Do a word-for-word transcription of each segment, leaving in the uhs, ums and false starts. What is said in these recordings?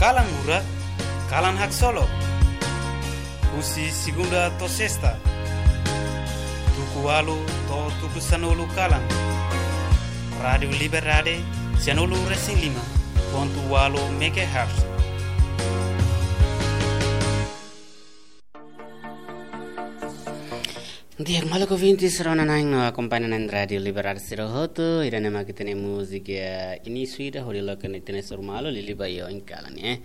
Kalan Murak, kalan haksolok. Husi segunda to'o sesta, tuku ualu to'o tuku sanulu kalan. Rádiu Liberdade, sianulu resin lima pontu ualu megahertz. Di'ak, maluk ouvintes rona-na'in no akompaña na'in Rádiu Liberdade sira hotu, ida-ne'e mak ita-nia múzika inísiu ida hodi loke ita-nia suru malu liuliu ba iha oin kalan ne'e.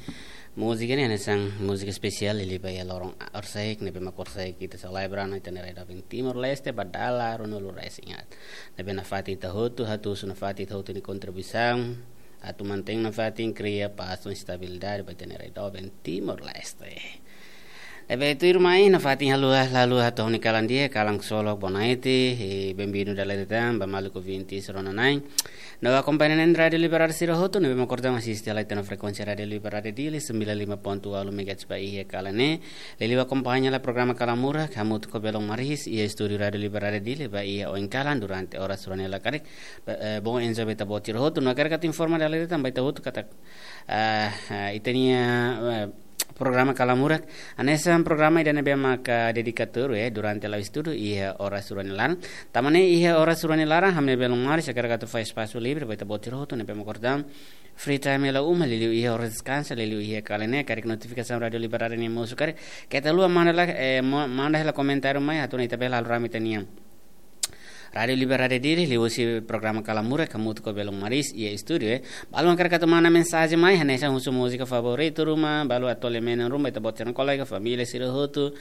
Múzika ne'e hanesan múzika espesiál liuliu ba iha loron horisehik ne'ebé mak horisehik ita selebra ona ita-nia rai doben Timor-Leste ba dala ruanulu resin haat. Ne'ebé nafatin ita hotu, atu husu nafatin ita hotu nia kontribuisaun atu mantein nafatin kria pás no estabilidade ba ita-nia rai doben Timor-Leste. Ne'ebé tuirmai nafatin halo, halo hato'o ha'u-nia kalan di'ak, kalan haksolok, bonaite, i benvindu dala ida tan ba maluk ouvintes rona-na'in no akompaña na'in Rádiu Liberdade sira hotu ne'ebé mak kordang asiste hela ita-nia frekuénsia Rádiu Liberdade Dili sembilan lima pontu ualu megahertz ba iha kalan ne'e. Liuliu akompaña hela programa Kalan Murak hamutuk ho Belun Maris iha estúdiu Rádiu Liberdade Dili ba iha oin kalan durante oras rua nia laekarik. Ba, eh, bom, enzo ba ita-boot sira hotu. No hakarak atu informa dala ida tan ba ita hotu katak, eh, eh, ita-nia, eh, programa Kalan Murak hanesan programa ida ne'ebé maka dedikadu, eh, durante la'o estudu iha oras rua nia laran. Tanba ne'e iha oras rua nia laran, ha'u-nia Belun Maris hakarak atu fó espasu livre ba ita-boot sira hotu ne'ebé mak kordang free time hela uma, liuliu iha oras deskansa, liuliu iha kalan ne'e, karik notifikasaun Rádiu Liberdade nian mosu karik, keta haluha manda hela, eh, mo-, manda hela komentáriu mai, atu nune'e ita bele halo rame ita-nia Rádiu Liberdade Dili, liuhusi programa Kalan Murak hamutuk ho Belun Maris iha estúdiu, eh. Balu hakarak atu manda mensajen mai, hanesan husu múzika favoritu ruma, balu atu tole menon ruma, ita-boot sira-nia kolega, família sira hotu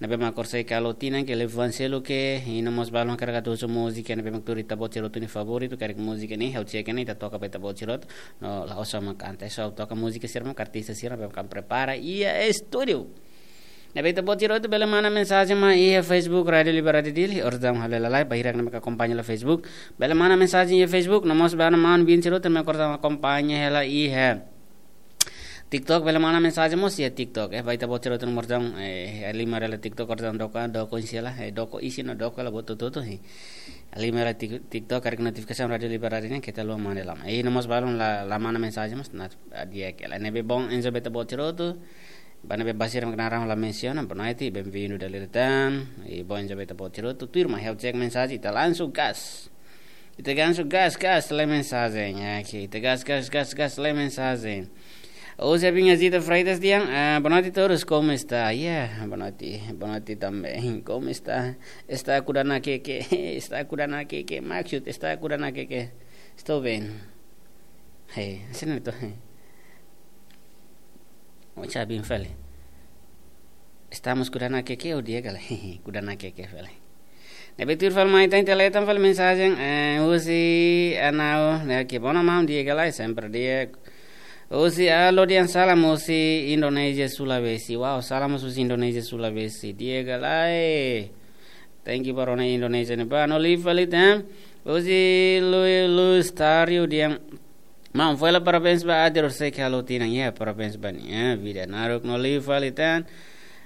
ne'ebé mak horisehik halo tinan ka liafuan seluk, i no mós balu hakarak atu husu múzika ne'ebé mak tuir ita-boot sira hotu nia favoritu, karik múzika ne'e, ha'u check ne'e, ita toka ba ita-boot sira hotu, no la'ós ha'u mak kanta, só toka múzika sira mak artista sira ne'ebé mak prepara iha estúdiu. Ne'ebé ita-boot sira hotu bele manda mensajen mai iha Facebook Rádiu Liberdade Dili, orsida ha'u halo hela live, ba sira ne'ebé mak akompaña hela Facebook, bele manda mensajen iha Facebook, no mós ba maun-bin sira hotu ne'ebé mak akompaña hela iha TikTok, bele manda mensajen mós iha TikTok, eh, ba ita-boot sira hotu no mós, eh, halimar hela TikTok, orsida doko, doko isin hela, eh, doko isin no doko hela buat hotu-hotu, eh. Halimar hela Tik-, TikTok, karik notifikasaun Rádiu Liberdade nian, keta haluha manda hela. Eh, no mós balun la, la manda mensajen mós, na, ah, di'ak hela. Ne'ebé bom, enzo ba ita-boot sira hotu, ba ne'ebé ba sira mak naran la mensiona, bonaite, benvindu dala ida tan, i bom, enzo ba ita-boot sira hotu, tuirmai, ha'u check mensajen, ita langsung gas. Ita langsung gas, gas, lee mensajen, ya, oke, ita gas, gas, gas, gas, lee mensajen. José Vinha Zita Freitas dehan, ah, boa noite a todos, como está? Ya, boa noite, boa noite também, como está? Está kuda nakeke, está kuda nakeke, maksud, está kuda nakeke. Estou bem. Hei, hanesan ne'e to, hei. Ocha bin fali. Estamos kuda nakeke, o dia kala. Kuda nakeke fali. Ne'ebé tuir fali mai tan, ita lee tan fali mensajen, eh, husi Anau, ne'e ke bona maun di'ak ka lae, sempre di'ak. Husi Alo dehan salam husi Indonézia Sulawesi. Wow, salam husi Indonézia Sulawesi. Di'ak ka lae. Thank you ba rona Indonézia ne'ebá. No liu fali tan, husi Lu-, Luis Tario dehan, maun, fó hela parabéns ba aat horisehik halo tinan. Ya, parabéns ba nia, ya, vida naruk. No liu fali tan,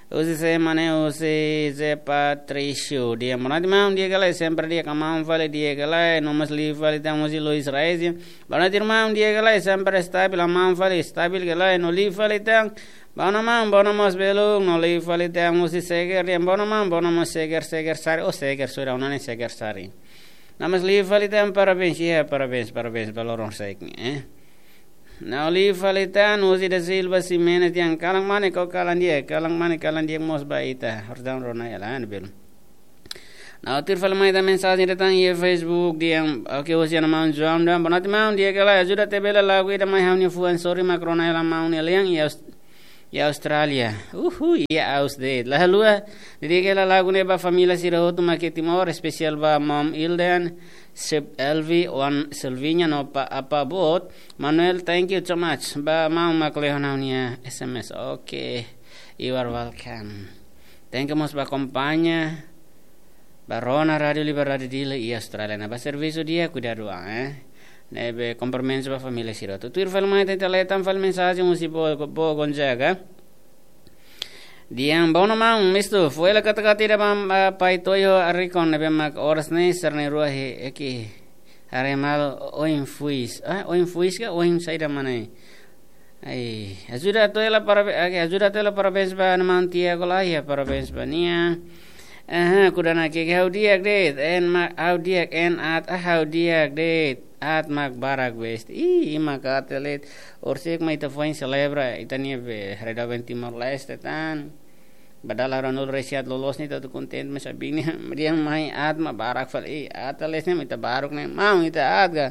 husi sé mak ne'e, husi Zé Patrício dehan, boa noite maun, di'ak ka lae, sempre di'ak ka maun fali, di'ak ka lae. No mós liu fali tan, husi Luis Reis dehan, boa noite irmão, di'ak ka lae, sempre estabil, maun fali, estabil ka lae. No liu fali tan, boa noite maun, boa noite mós belun. No liu fali tan, husi Seger dehan, boa noite maun, boa noite mós Seger, Seger Sari, oh, Seger Sura, o nome Seger Sari. No mós liu fali tan, parabéns, ya, parabéns, parabéns ba loron horisehik ne'e, eh. No liu fali tan, husi da Silva Ximenes dehan, kalan mane ka kalan di'ak, kalan mane kalan di'ak mós ba ita. Orsida rona hela, ne'e belun. No tuir fali mai tan mensajen ida tan iha Facebook dehan, oke, husi Ana Maun João dehan, boa noite maun, di'ak ka lae, ajuda atu bele lagu ida mai ha'u-nia fuan, sorry mak rona hela maun nia lian iha Aus-, iha Austrália. Uhu, iha Aus de'it. La haluha, di'ak ka lae, lagu ne'e ba família sira hotu mak iha Timor, espesiál ba Mom Ilden, Sep Elvi, Wan Silvinha, no pa, apa boot, Manuel, thank you so much. Ba maun mak lehon ha'u-nia S M S. Oke. You are welcome. Thank you mós ba akompaña, ba rona Rádiu Liberdade Dili iha Austrália. Ne'ebá servisu di'ak, kuidadu an, eh. Ne'ebé komprimentu ba família sira hotu. Tuir fali mai tan, ita lee tan fali mensajen husi Bo-, Bo Gonzaga. Dehan, boa noite maun, mistu, fó hela katak-katak ida ba, ba pai Toyo Arikon ne'ebé mak oras ne'e sira na'in-rua he, eki, haree malu oin fuis. Ah, oin fuis ka, oin saida mak ne'e? Ai, ajuda atu hela parabéns, oke, ajuda atu hela parabéns ba ha'u-nia maun Tiago Laia, parabéns ba nia. Aha, kuda na ke ha'u di'ak de'it, en ma, ha'u di'ak, en aat, ah, ha'u di'ak de'it, aat mak barak best. Ih, ima ka atelit, orsida mak ita foin selebra, ita-nia be, redaben Timor-Leste tan. Ba dala ruanulu-resin-haat loloos ne'e ita atu kontente, mas abin ne'e, di'ak mai aat mak barak fali, aat aleis ne'e mak ita baruk ne'e, maun ita aat ka.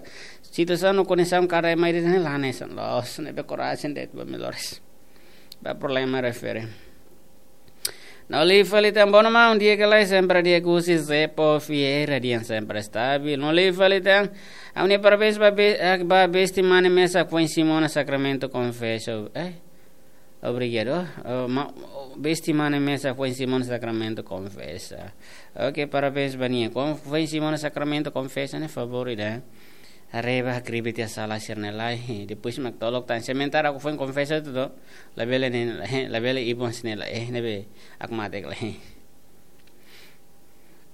Situasaun no kondisaun kada mai de'it ne'e la hanesan loos, ne'ebé korajen de'it ba melhores. Ba problema refere. No liu fali tan, bono maun, di'ak ka lae, sempre di'ak, husi Zepo Vieira dehan sempre stabil. No liu fali tan, ha'u-nia parabéns ba be-, ah, ba besti mane mesak foin simu ona sakramentu konfesa. Eh? Obrigadu. Oh, ma-, besti mane mesak foin simu ona sakramentu konfesa. Oke, parabéns ba nia. Kon-, foin simu ona sakramentu konfesa ne'e favór ida. Haree ba hakribi tiha sala sira-ne'e lai. Depois mak tolok tan. Sementara ha'u foin konfesa hotu, labele ne'e, labele ibun sini la, eh, ne'ebé hakmatek lai.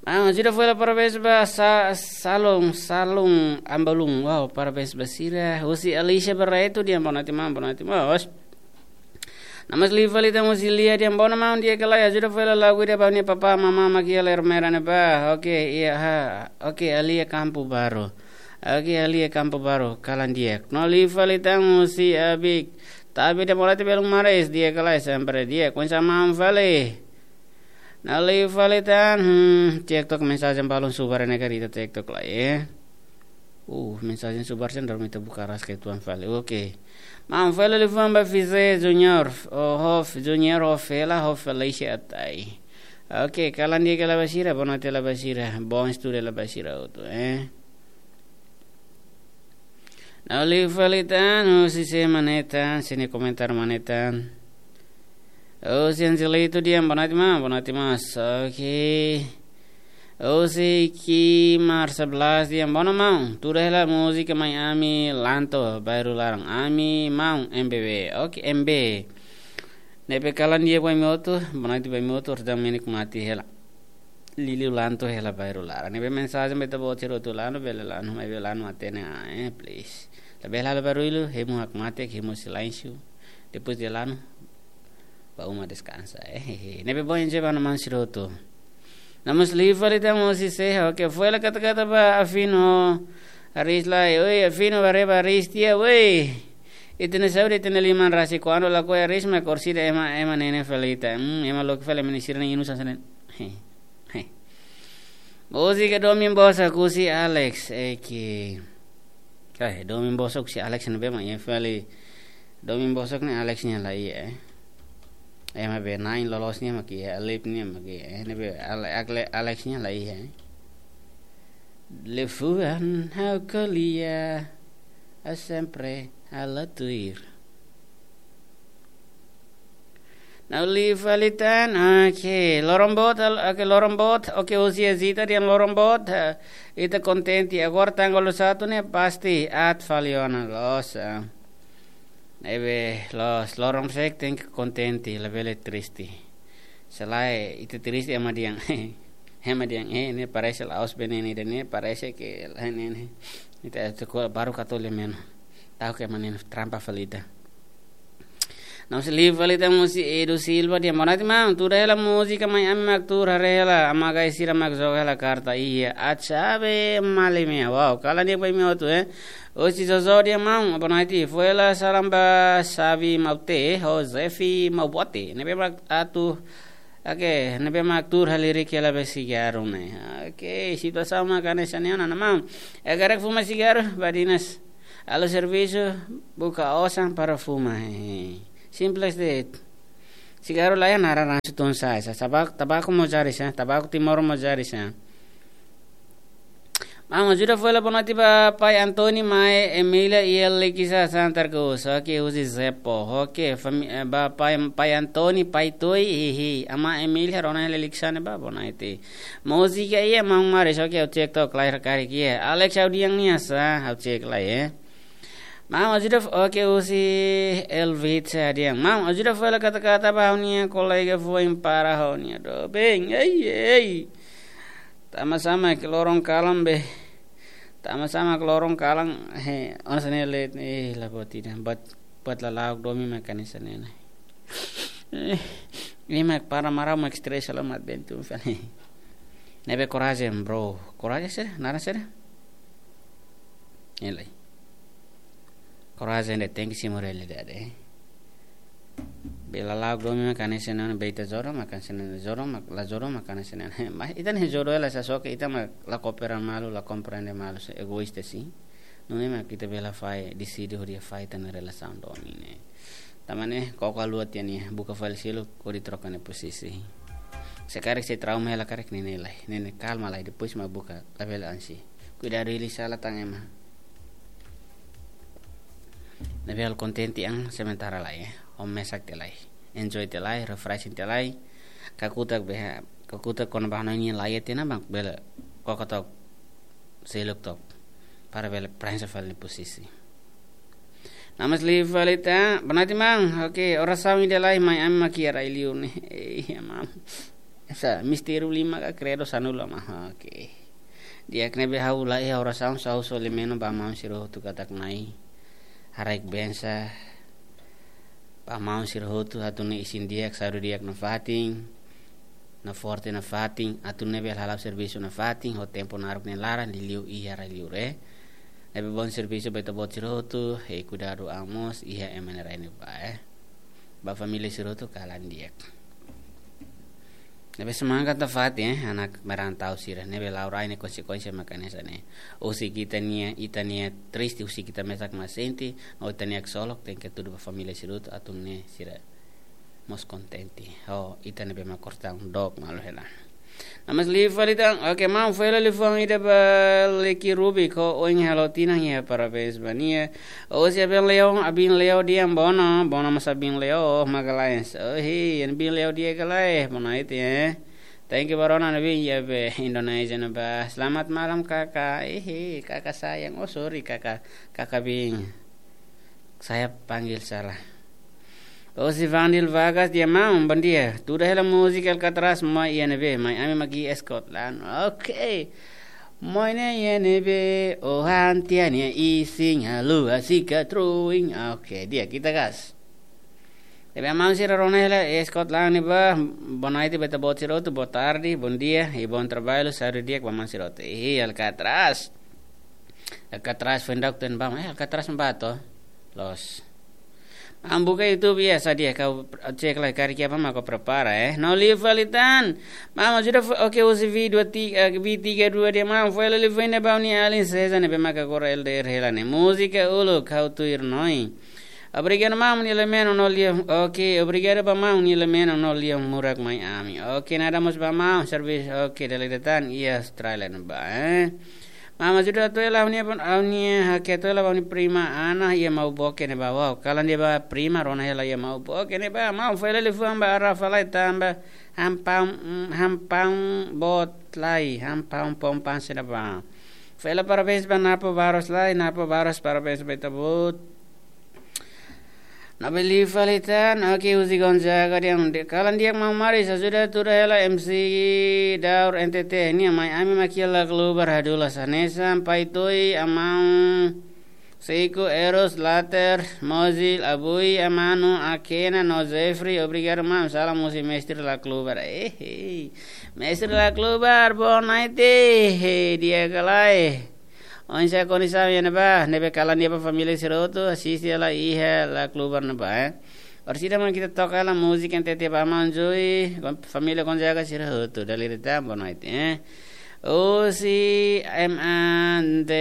Ah, ajuda foin hela parabéns ba Sa-, Salum, Salum Ambalum. Wow, parabéns ba sira. Husi Alicia Barreto dehan boa noite maun, boa noite maun. Namas liu fali tan husi Lia dehan bono maun, di'ak ka lae, ajuda foin hela lagu ida ba ha'u-nia papá, mamá mak iha Ermera ne'ebá. Oke, iha, ha. Oke, Alia Campo Baru. Oke, Alia Campo Baru, kalan di'ak. No liu fali tan husi Abik. Tabe dehan boa noite belun maris, di'ak ka lae, sempre di'ak. Oinsá maun fali. No liu fali tan, hmm, TikTok mensajen balun subar ne'e karita TikTok lai, eh. Uh, mensajen subar sen dormi ta buka ras ke tuan fali. Oke. Maun fali liafuan ba Fize Junior, oh, Hof Junior, Hof Hela, Hof Felicia Atai. Oke, kalan di'ak ka lae ba sira, boa noite hela ba sira, bom estudo hela ba sira hotu, eh. No liu fali tan, husi sé mane tan, sini komentar mane tan. Husi Angelito dehan boa noite maun, boa noite maun. Oke. Husi Ki Marsa Blas dehan bono maun, tuur hela múzika Mai Ami Lanto, bairru laran. Ami maun M B B. Oke, M B. Ne'ebé kalan di'ak ba imi hotu, boa noite ba imi hotu, orsida menik mati hela. Liuliu Lanto hela bairru laran. Ne'ebé mensajen ba ita-boot sira hotu, lanu bele lanu, maibé lanu hatene, ah, eh, please. Labele halo barullu, hemu hakmatek, hemu silénsiu. Depois de lanu, ba uma deskansa, eh, eh, eh. Ne'ebé bom dia ba ha'u-nia maun sira hotu. Namas liu fali tan husi sé, oke, foin hela kata-kata ba Afino Aris lai, oi, Afino, haree ba Aris tiha, oi. Ita-nia saúde, ita-nia liman rasik, kuandu lakohi Aris mak orsida ema, ema ne'e ne'e fali ita. Hmm, ema loke fali ema ne'e sira-nia inu sasán ne'e. He, he. Múzika Domin Bossa husi Alex, eki. Eh, Domin Bossa husi Alex ne'ebé mak iha fali. Domin Bossa ne'e Alex nia la iha, eh. Ema be na'in loloos nia mak iha, Alip nia mak iha, eh. Ne'ebé Ale-, Akle-, Alex nia la iha, eh. Liafuan ha'u ko'alia, ha'u sempre halo tuir. No liu fali tan, oke, loron boot, al-, oke, loron boot, oke, husi Zita dehan loron boot, eh, ita kontente, agora tanggal satu ne'e pasti aat fali ona loos, eh. Ne'ebé loos, loron sek tenke kontente, labele triste. Se lae, ita triste ema dehan, ema dehan, eh, ne'e parese la'ós bene ne'e, ne'e parese ke, ne'e, ne'e. Ita, ita ko-, baru katole meno. Ta'uk ema ne'e trampa fali ita. Namas liu fali tan husi Edu Silva dehan boa noite maun, tuur hela múzika Mai Ami mak tuur, haree hela, Ama Gai sira mak joga hela karta, iha, aat xave malemia, wow, kalan di'ak ba imi hotu, eh. Husi Jojo dehan maun, boa noite, foin hela salam ba Xavi Maute, ho Zefi Maubote, ne'ebé mak atu, oke, ne'ebé mak tuur halirik hela be sigaru ne'e. Oke, situasaun mak hanesan ne'e ona, maun. Eh, karik fuma sigaru, badinas. Halo servisu, buka osan para fuma. He. Simples de'it. Sigaru la iha naran ransu tun sai. Sa-, tabak-, tabaku mós jari sa, tabaku Timor mós jari sa. Maun, ajuda foin hela boa noite ba Pai Antoni, Mai Emília, iha Likisá, Santa Cruz. Oke, husi Zepo. Oke, fami-, eh, ba Pai, Pai Antoni, Pai Toi, hihi. Ama Emília, rona hela Likisá ne'ebá, boa noite. Múzika iha, maun maris, oke, ha'u cek to'ok, klair karik iha. Alex ha'u dehan nia sa, ha'u cek lai, eh. Maun ajuda f-, oke, husi Elvit sa dehan. Maun ajuda foin hela kata-kata ba ha'u-nia kolega foin para ha'u-nia doben. Ei, ei. Tama sama ke loron kalan be. Tama sama ke loron kalan. He, ona sene let, eh, la buat ida. But Buat lala'ok domin mak hanesan ne'e. Eh, ne'e mak para marau mak stress la mat bentu fali. Ne'ebé korajen, bro. Korajen sira, naran sira. Ne'e lai. Korajen de'it, tenke simu realidade. Be lala'ok domin mak hanesan ne'e, be ita jodo mak hanesan ne'e, jodo mak, la jodo mak hanesan ne'e. Mas ita-nia jodo hela sasó ke ita mak la koopera malu, la komprende malu, sei egoísta sin. Nune'e mak ita bele fahe, deside hodi fahe ita-nia relasaun domin ne'e. Tanba ne'e, koko haluha tiha nia, buka fali seluk, hodi troka nia posisi. Se karik sei trauma hela karik ne'e, ne'e lai, ne'e, ne'e kalma lai, depois mak buka, labele ansi. Kuidadu hili sala tan ema. Ne'ebé halo kontente an sementara lai, eh. Ho mesak tiha lai. Enjoy tiha lai, refreshing tiha lai. Kakutak be, kakutak kona-ba hanoin nia laiha tiha ona mak bele koko took, seluk took. Para bele prensa fali nia posisi. Namas liu fali tan, boa noite maun. Oke, orasaun ida lai, mai ami mak iha rai-liur ne'e. Eh, maun. Esa, mistériu lima ka kredu sanulu maun. Oke. Di'ak, ne'ebé ha'u la iha orasaun, só ha'u solimeno ba maun sira hotu katak Na'i haraik bensa ba maun sira hotu, atu nune'e isin di'ak, saúde di'ak nafatin, naforte nafatin, atu nune'e bele hala'o servisu nafatin, ho tempu naruk nia laran, liuliu iha rai-liur, eh. Ne'ebé bom servisu ba ita-boot sira hotu, eh, kuidadu an mós, iha ema nia rai ne'ebá, eh. Ba família sira hotu kalan di'ak. Ne'ebé semangat nafatin, eh, anak merantau sira, ne'ebé la'o rai ne'e konsekuénsia mak hanesan ne'e. Husik ita-nia, ita-nia triste, husik ita mesak mak sente, no ita-nia ksolok, tenke hatudu ba família sira hotu, atu nune'e sira mós kontente. Oh, ita ne'ebé mak kortaun dook malu hela. Namas liu fali tan, oke, maun, fó hela liafuan ida ba Leki Ruby, ho oin halo tinan iha parabéns ba nia. Osi Abin Leo, Abin Leo di'ak, bono, bono mós Abin Leo, Magalhães. Oh, hi, Abin Leo di'ak ka lae, boa noite, eh. Thank you, ba rona ne'ebé iha be Indonézia ne'ebá. Selamat malam, kakak. Ih, kakak sayang. Oh, sorry, kakak. Kakak Bin. Saya panggil salah. Osi Vandil Vargas di'ak, maun, bom dia. Tuda hela múzika Alcatraz, Moi iha ne'ebé, mai ami mak iha Scotland. Oke. Moi ne'e iha ne'ebé, ohan tiha nia isin, haluha sikat ruin. Oke, di'ak, ita gas. Ne'ebé maun sira rona hela iha Scotland ne'ebá, boa noite ba ita-boot sira hotu, boa tarde, bom dia, i bom trabalho, saúde di'ak ba maun sira hotu. Ih, Alcatraz. Alcatraz foin dauk ten bam, eh, Alcatraz ne'ebá to. Loos. Maun buka YouTube, iha, sa di'ak, ha'u cek lai karik iha-ne'ebá mak ha'u prepara, eh. No liu fali tan. Maun, ajuda fo-, oke, husi V dua tiga, eh, V tiga dua di'ak, maun, fó hela liafuan ida ba ha'u-nia alin César ne'ebé mak agora L D R hela ne'e. Múzika uluk, ha'u tuir noi. Obrigadu maun nia lemeno no lia. Oke, obrigadu ba maun nia lemeno no lia murak mai ami. Oke, nada mós ba maun, servisu. Oke, dala ida tan iha Austrália ne'ebá, eh. Maun, ajuda atu hela ha'u-nia, ha'u-nia, hakerek atu hela ba ha'u-nia prima Ana iha Mauboke ne'ebá. Wow, kalan di'ak ba prima, rona hela iha Mauboke ne'ebá. Maun, fó hela liafuan ba Rafa lai tanba hampaun, mm, hampaun boot lai, hampaun pompan sira ba. Fó hela parabéns ba Napo Barros lai, Napo Barros, parabéns ba ita-boot. Ne'ebé liu fali tan, oke, husi Gonzaga di'ak, kalan di'ak maun Maris, ajuda tuda hela M C Daur N T T, nia mai ami mak iha Laclubar hadulas hanesan, Pai Toi, Amaun, Seiko, Eros, Later, Mozil, Abui, Amanu, Akena, no Jeffrey, obrigadu maun, salam husi Mestre Laclubar. Eh, eh. Mestre Laclubar, boa noite, eh, di'ak ka lae. Oinsá kondisaun iha ne'ebá, ne'ebé kalan di'ak ba família sira hotu, asiste hela iha Laclubar ne'ebá, eh. Orsida mak ita toka hela múzika N T T ba maun Joy, família Gonzaga sira hotu, dala ida tan, boa noite, eh. Osi M A N T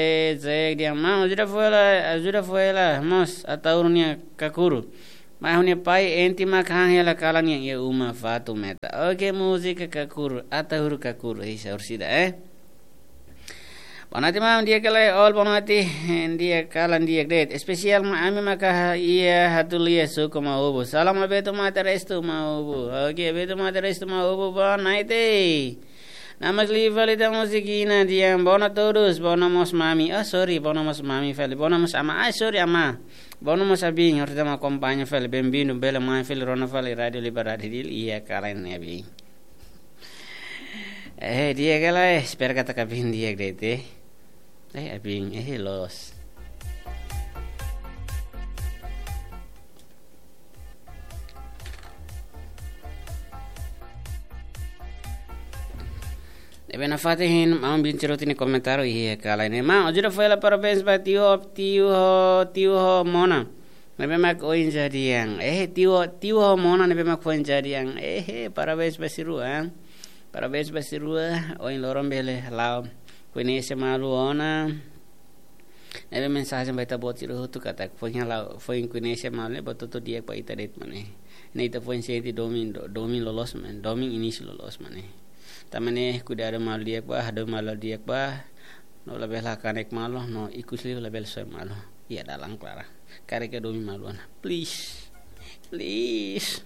Z di'ak, maun, ajuda fó hela, ajuda fó hela mós Ataúru nia kakuru. Mai ha'u-nia pai enti mak han hela kalan iha uma fatin meta. Oke, múzika kakuru, Ataúru kakuru, isa orsida, eh. Boa noite maun, di'ak ka lae, all boa noite, di'ak, kalan di'ak de'it. Espesiál mak ami maka iha Hatulia, suku Maubu. Salam ba Beto Mate Restu Maubu. Oke, Beto Mate Restu Maubu, boa noite. Namas liu fali tan, múzika ida di'ak, boa noite a todos, boa noite mós mami. Ah, sorry, boa noite mós mami fali, boa noite mós amá. Ah, sorry, amá. Boa noite mós abin, orsida mak akompaña fali, bem-vindo, bele mai fali, rona fali Rádio Liberdade Dili, iha kalan ne'e abin. Eh, di'ak ka lae, espera katak abin di'ak de'it, eh. Eh, abin, eh, loos. Ne'ebé nafatin hein maun bin Cerutu nia komentáriu iha kalan ne'e. Maun, ajuda fó hela parabéns ba tiu ho, tiu ho, tiu ho Mona. Ne'ebé mak oin jadi an. Eh, tiu ho, tiu ho Mona ne'ebé mak oin jadi an. Eh, parabéns ba sira rua. Parabéns ba sira rua. Ohin loron bele la'o koñese malu ona. Ne'ebé mensajen ba ita-boot sira hotu katak foin hela, foin koñese malu ne'e buat hotu di'ak ba ita de'it mak ne'e. Ne'e ita foin sente domin, do-, domin loloos mak ne'e, domin inísiu loloos mak ne'e. Tanba ne'e kuidadu malu di'ak ba, hadomi malu di'ak ba. No labele hakanek malu, no ikus liu labele soe malu. Iha dalan klaran. Karik domin malu ona. Please. Please.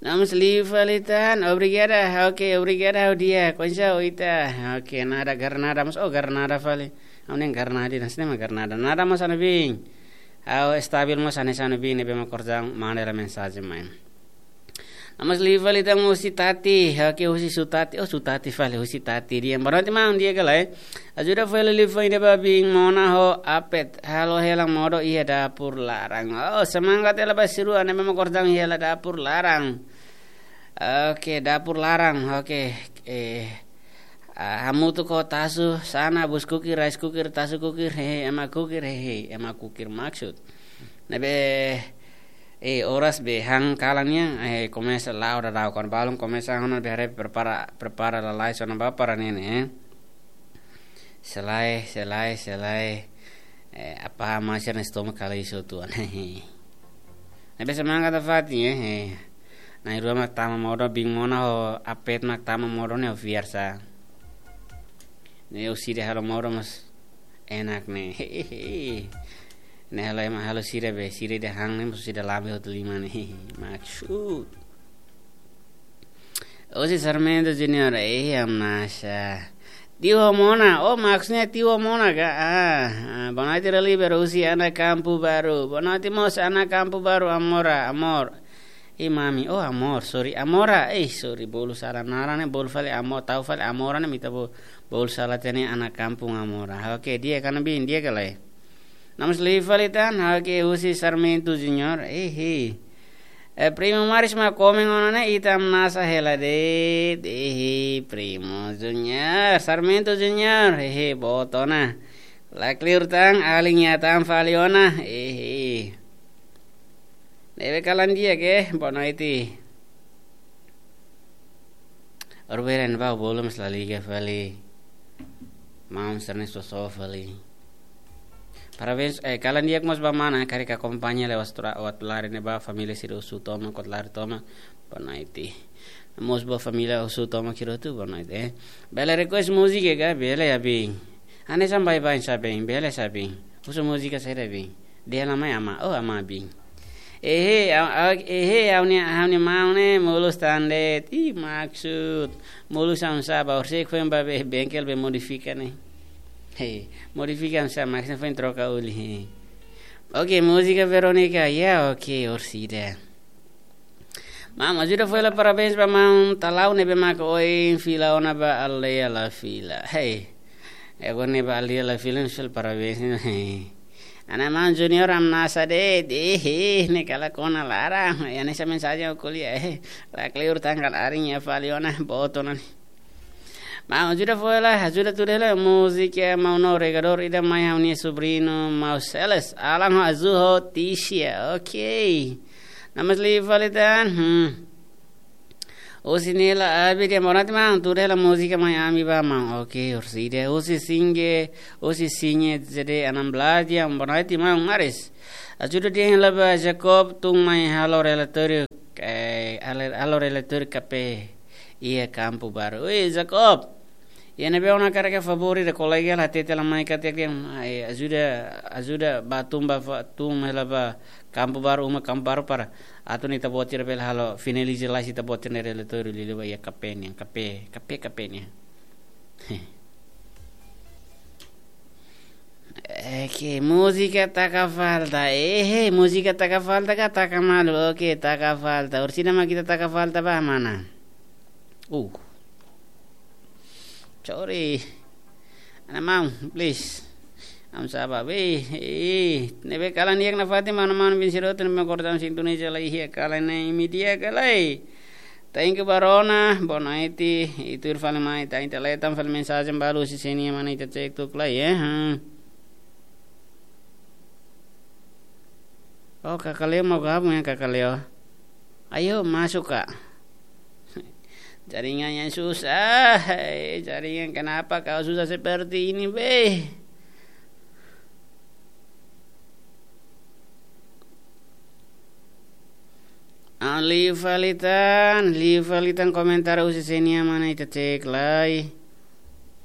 Namus liu fali tan, obrigada. Oke, obrigada ha'u di'ak. Konsa ita. Oke, nada Granada mós, oh, Granada fali. Ha'u-nian Granada, nasi nama Granada. Nada mós hanesan ne'e bin. Ha'u estabil mós hanesan ne'e bin, ne'ebé mak kordang, manda hela mensajen mai. Namus liu fali tan husi Tati. Oke, husi Sutati. Oh, Sutati fali, husi Tati. Di'ak, boa noite maun, di'ak ka lae. Ajuda fó hela liafuan ida ba bin Mona ho Apet. Halo hela modo iha dapur laran. Oh, semangat hela ba sira rua ne'ebé mak kordang iha hela dapur laran. Oke, dapur laran. Oke, eh, ah, hamutuk ho Tasu Sana bus kukir, rice cooker, Tasu kukir, hehe, ema kukir, hehe, ema kukir maksud. Ne'ebé, eh, oras be han kalan nian, eh, komesa la'o daudaun, kuandu balun komesa ona be haree prepara, prepara lalais ona ba para ne'e ne'e, eh. Selae, selae, selae. Eh, apa masih ada stomach kali isu tuan. Ne'ebé semangat nafatin, eh, eh. Na'in-rua mak tama modo, bin Mona ho Apet mak tama modo ne'e ho fiar sa. Ne'e husi ida halo modo mós enak ne'e. Ne'e halo ema halo sira be, sira ida han ne'e mós sira lambe hotu liman ne'e. Maksud. Husi Sarmento Junior, eh, hamnasa. Tiu ho Mona, oh, maksudnya tiu ho Mona ka? Ah, ah, boa noite Raliber, husi Ana Kampu Baru. Boa noite mós Ana Kampu Baru, Amora, amor. Eh, mami, oh, amor, sorry, Amora, eh, sorry, bolu sala naran ne'e, bolu fali amor, tau fali Amora ne'e, mak ita bo-, bolu sala tiha ne'e Ana Kampu Amora. Oke, di'ak ka lae bin, di'ak ka lae. Namus liu fali tan, oke, husi Sarmento Junior, eh, eh. Eh, Primo Maris mak komen ona ne'e, ita hamnasa hela de'it, eh, eh, Primo Junior, Sarmento Junior, eh, eh, boot ona. Lakleur tan, alin iha tan fali ona, eh, eh. Ne'ebé kalan di'ak, boa noite. Orberen ba bolu mós la liga fali. Maun Ernesto so fali. Parabéns, eh, kalan di'ak mós ba mana, karik akompaña lewat tra-, lewat lari ne'e ba família sira husu tomak, kuat lari tomak, boa noite. Mós ba família husu tomak sira hotu, boa noite, eh. Bele request múzika ka, bele ya bin. Hanesan baibain sa bin, bele sa bin. Husu múzika saida bin. Dehan mai ama, oh ama bin. Ehe, au, au, ehe, ha'u-nia, ha'u-nia maun ne'e, molus tan de'it. Ih, maksud. Molus hanesan sá, ba orsida foin ba be, bengkel be modifika ne'e. He, modifika hanesan sá, maksudnya foin troka oli, he. Oke, múzika Verónica, ya, oke, orsida. Maun, ajuda fó hela parabéns ba maun Talau ne'ebé mak ohin fila ona ba aldeia La Fila. Hei. Agora ne'e ba aldeia La Fila, ne'e fó hela parabéns. Hei. Ana maun Junior hamnasa de'it, eh, eh, ne'e kala kona laran. Hanesan mensajen ko'alia, eh. Lakleur tan karik alin iha fali ona, boot ona ne'e. Maun, ajuda fó hela, ajuda tuda hela múzika, eh, maun no regador ida mai ha'u-nia sobriñu, maun Celes, Alan ho Azul ho Tisha. Oke. Namus liu fali tan. Hmm. Husi Nela Abdi, boa noite maun, tuda hela múzika mai ami ba maun. Oke, orsida. Husi Singe, husi Singe, Zede Anam Belaja, boa noite maun, maris. Ajuda dehan hela ba Jacob, tun mai halo relatóriu, eh, halo, halo relatóriu K P iha Kampu Baru. Oi, Jacob. Iha ne'ebé ona karik favór ida kolega la hatete la mai katak dehan, ai, ajuda, ajuda ba tun ba fa-, tun hela ba Kampu Baru, uma Kampu Baru para atu nune'e ita-boot sira bele halo finaliza lai ita-boot sira-nia relatóriu liuliu ba iha K P nian, K P, K P, K P nian. Oke, múzika taka falta. Ehe, múzika taka falta ka taka malu? Oke, taka falta. Orsida mak ita taka falta ba mana? Uh. Sorry. Ana maun, please. Hamnasa ba be. Eh, ne'ebé kalan di'ak nafatin mana maun bin sira hotu ne'ebé mak kordang sintoniza lai iha kalan ne'e, imi di'ak ka lae. Thank you, Barona. Boa noite. Ita tuir fali mai, ita, ita leta fali mensajen balu husi sé-nia mana, ita cek tuk lai, eh. Hmm. Oh, Kaka Leo mau gabung ya, Kaka Leo. Ayo, masuk, Kak. Jaringan yang susah. Eh, jaringan, kenapa kau susah seperti ini, be? Ah, liu fali tan, liu fali tan komentar husi sé-nia mana, ita cek lai.